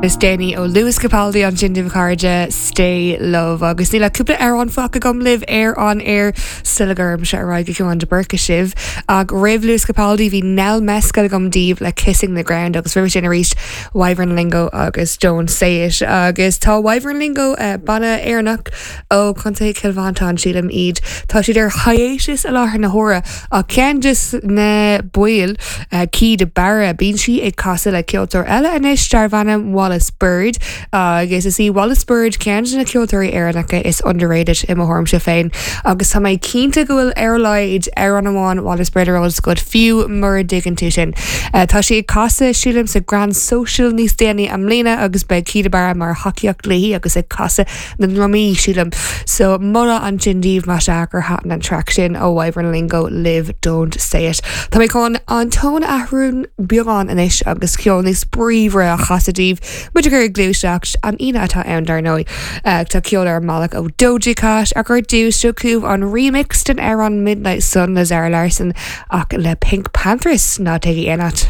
Is déanaí ó Lewis Capaldi ansin daoibh a chairde, Stay Love. Agus níl ach cúpla amhrán fágtha agam libh ar an aer sula gcuirimse ar aghaidh go Ciarán de Búrca sibh. Ach roimh Lewis Capaldi bhí Nell Mescal agam daoibh le Kissing the Ground agus roimhe sin arís Wyvern Lingo agus Don't Say It. Agus tá Wyvern Lingo, banna Éireannach ó Chontae Chill Mhantáin sílim iad, tá siad ar hiatus i láthair na huaire Ach ceann de na baill, Caoi de Barra, bíonn sí ag casadh le ceoltóir eile anois darb ainm Wallis Bird agus is í Wallis Bird ceann de na ceoltóirí Éireannacha is underrated i mo thuairimse féin agus tá mé cinnte go bhfuil ar a laghad amhrán amháin Wallis Bird ar eolas agat fiú mura dtuigeann tú sin. Tá sí ag casadh sílim sa Grand Social níos déanaí i mbliana agus beidh Caoi de Barra mar thacaíocht léi agus ag casadh na ndrumaí, sílim. So, moladh ansin daoibh más ea gur thaitin an traic sin ó Wyvern Lingo libh Don't Say It. Tá mé chun an tón a athrú beagán anois agus ceol níos bríomhaire a chasadh daoibh, muid ag cur ag gluaiseacht, an Aoine atá ann dar ndóigh. Tá ceol ar an mbealach ó Doja Cat ach ar dtús seo chugaibh an remix den amhrán Midnight Sun le Zara Larsson ach le PinkPantheress, ná téigí aon áit.